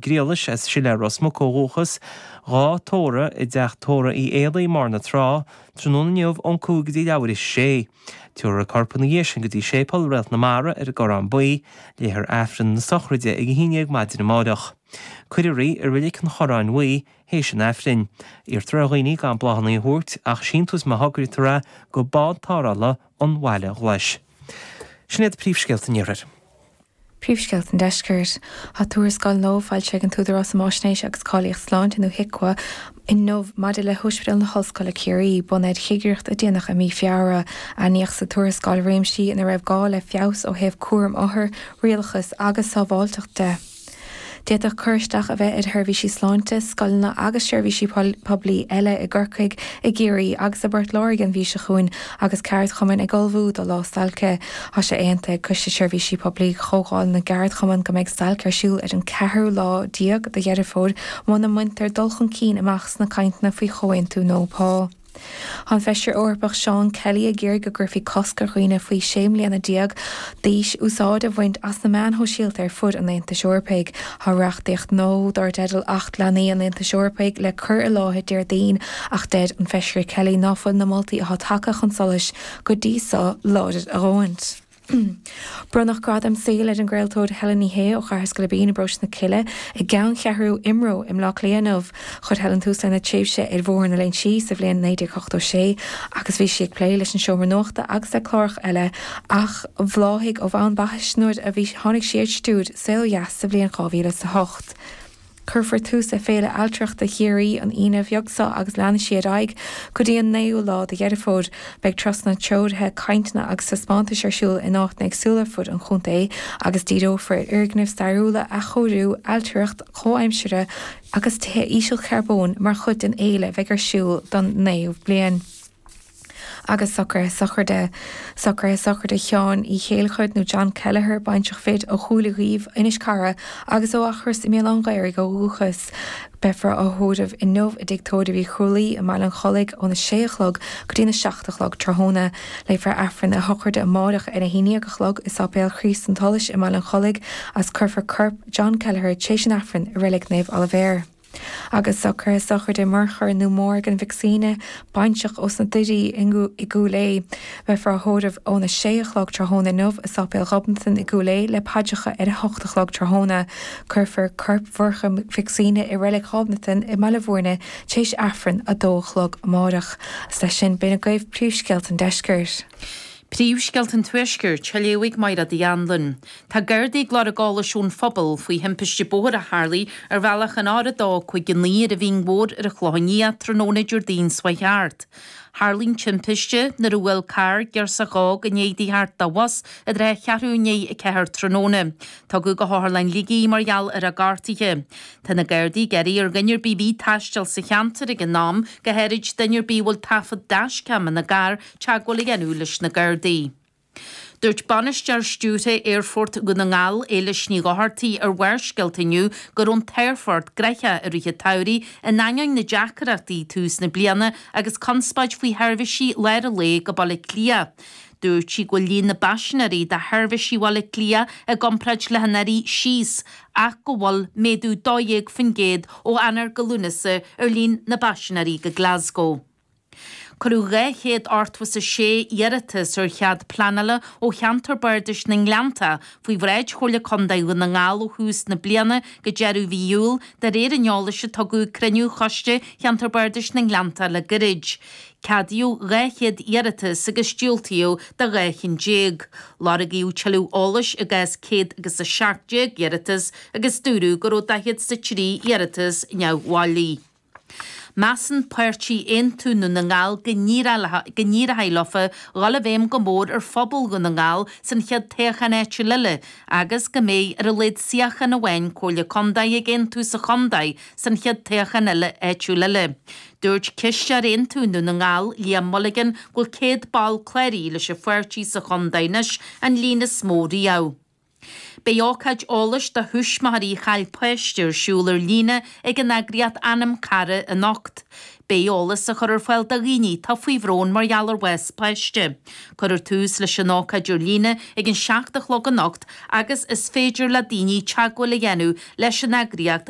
Griallais, as Siléar Ros Muc ó dhúchas, dhá tórramh i dteach tórraimh Uí Éalaí i mBarr na Trá, tráthnóna inniu ón 5 go dtí leathuair théis a sé. Tabharfar a corp ina dhiaidh sin go dtí Séipéal Réalt na Mara ar an gCorrán Buí. Léifear Aifreann na sochraide ag 11 maidin amáireach. Cuirfear í i Reilig an Chorráin Bhuí théis an Aifrinn. Iarrtar ar dhaoine gan bláthanna a thabhairt ach síntiús má thograítear é go Bád Tarrthála an Bhaile Ghlais. Sin iad príomhscéalta an Iarthair. Príomhscéalta an Deiscirt. Tá tuarascáil nua foilsithe ag an tÚdarás um Fháisnéis agus Cáilíocht Sláinte, nó HIQA, inniu maidir le hOspidéal na hOllscoile Ciarraí, bunaithe ar chigireacht a déanadh i mí Feabhra. Aithníodh sa tuarascáil réimsí ina raibh gá le feabhas ó thaobh cúram othar, rialachas agus sábháilteacht de. D'fhéadfadh cur isteach a bheith ar sheirbhísí sláinte, scoileanna agus seirbhísí poiblí eile i gCorcaigh, i gCiarraí agus i bPort Láirge an mhí seo chugainn agus ceardchumainn ag ullmhú do lá stailce. Tá sé aontaithe ag Coiste Seirbhísí Poiblí Chomhdháil na gCeardchumann go mbeidh stailc ar siúl ar an ceathrú lá déag de Dheireadh Fómhair muna mbaintear dul chun cinn amach sna cainteanna faoi chomhaontú nua pá. Tá an Feisire Eorpach Seán Kelly ag iarraidh go gcuirfí cosc ar dhaoine faoi 16 mbliana d'aois úsáid a bhaint as na meáin shóisialta ar fud an Aontais Eorpaigh. Tá reachtaíocht nua dar dteideal Acht Leanaí an Aontais Eorpaigh le cur i láthair Déardaoin ach deir an Feisire Kelly ná fuil na moltaí atá tagtha chun solais go dtí so láidir a dhóthaint. Bronnadh Gradam Saoil ar an gcraoltóir Helen Ní Shé ó Chathair Scairbín i bparóiste na Cille i gceanncheathrú IMRO i mBleá Cliath inniu. Chuir Helen tús lena tréimhse ar Bhóthar na Léinsí sa bhliain 1986 agus bhí sí ag plé leis an Seomra Nuachta agus le cláracha eile ach bhláthaigh ó bhonn baithis nuair a bhí tháinig sí ar stiúir Saol Ó Dheas sa bhliain 2008. Cuirfear tús le Féile Ailtireachta Chiarraí an Aoine bheag seo agus leanfaidh sí ar aghaidh go dtí an 9ú lá de Dheireadh Fómhair. Beidh turasanna treoraithe, cainteanna agus taispeántais ar siúl in áiteanna éagsúla ar fud an chontae agus díreofar ar fhoirgnimh stairiúla, athchóiriú, ailtireacht chomhaimseartha agus tithe ísealcharbóin mar chuid den fhéile a bheidh ar siúl don naoú bliain. Agus socruithe sochraide. Socruithe sochraide Sheáin Uí Chéilleachair nó John Kelleher, baintreach fir ó Chúil Uí Dhuibh, Inis Cara, agus ó Eachros i mBéal Átha'n Ghaorthaidh ó dhúchas. Beifear á thórramh inniu i dTigh Tórraimh Uí Chrualaoi i mBaile an Chollaigh óna sé a chlog go dtína 7 a chlog tráthnóna. Léifear Aifreann a shochraide amáireach ar a haon déag a chlog i Sáipéal Chríost an tSolais i mBaile an Chollaigh agus cuirfear corp John Kelleher tar éis an Aifrinn i Reilig Naomh Oilibhéar. Agus socruithe sochraide Murchadh nó Morgan Mhic Suibhne, baintreach ós na Doirí i gCúil Aodha. Beifear á thórramh óna sé a chlog tráthnóna inniu i Sáipéal Ghobnatan i gCúil Aodha le paidreacha ar a hocht a chlog tráthnóna. Cuirfear corp Mhurchadh Mhic Suibhne i Reilig Ghobnatan i mBaile Bhúirne tar éis Aifreann 2 a chlog amáireach. Agus leis sin, b'in agaibh príomhscéalta an deiscirt. Príomhscéalta an Tuaiscirt, á léamh ag Mairéad Uí Anluain. Tá Gardaí ag lorg eolais ón phobal faoi thimpiste bóthair a tharlaigh ar bhealach an R2 59 ar an Mhín Mhór ar an Chlochán Liath tráthnóna Déardaoin seo chuaigh thart. Tharlaigh an timpiste nuair a bhuail carr girseach óg i ndiaidh di theacht de bhus i dtrátha cheathrú i ndiaidh 4 tráthnóna. Tugadh go hOtharlann Shligigh í mar gheall ar a gortuithe. Tá na Gardaí ag iarraidh ar dhuine ar bith a bhí ag taisteal sa cheantar ag an am, go háirid duine ar bith a bhfuil taifead dashcam ina gcarr, teagmháil a dhéanamh leis na Gardaí. Dúirt Bainisteoir Stiúrtha Aerfort Dhún na nGall, Éilis Ní Dhochartaigh, ar Bharrscéalta inniu go raibh an t-aerfort gnoitheach i rith an tsamhraidh in ainneoin na deacrachtaí tús na bliana agus conspóid faoi sheirbhísí lár an lae go Baile Átha Cliath. Dúirt sí go bhfuil líon na bpaisinéirí do sheirbhísí Bhaile Átha Cliath i gcomparáid le hanuraidh síos ach go bhfuil méadú 12% ó Eanáir go Lúnasa ar líon na bpaisinéirí go Glasgow. Cuireadh 286 iarratas ar chead pleanála ó cheantar bardais na nGleanntach faoi bhráid Chomhairle Contae Dhún na nGall ó thús na bliana go deireadh mhí Iúil, de réir an eolais a tugadh ag cruinniú Choiste Cheantar Bardais na nGleanntach le gairid. Ceadaíodh 200 iarratas agus diúltaíodh do 12 chinn. Lorgaíodh tuilleadh eolais i gcás 117 iarratas agus dúradh go raibh 43 iarratas neamhbhailí. Measann páirtí Aontú Dhún na nGall go n-éireoidh leofa dhul i bhfeidhm go mór ar phobal Dhún na nGall san chéad toghchán áitiúil eile agus go mbeidh ar a laghad suíochán amháin Comhairle Contae ag Aontú sa chontae san chéad toghchán eile áitiúil eile. Dúirt Cisteoir Aontú Dhún na nGall, Liam Mulligan, go bhfuil 100 ball cláraithe leis an pháirtí sa chontae anois, an líon is mó riamh. Beidh ócáid eolais do thuismitheoirí a chaill páiste ar siúl ar líne ag an eagraíocht Anam Cara anocht. Beidh eolas á chur ar fáil do dhaoine atá faoi bhrón mar gheall ar bhás páiste. Cuirfear tús leis an ócáid ar líne ag an 7 a chlog anocht agus is féidir le daoine teagmháil a dhéanamh leis an eagraíocht.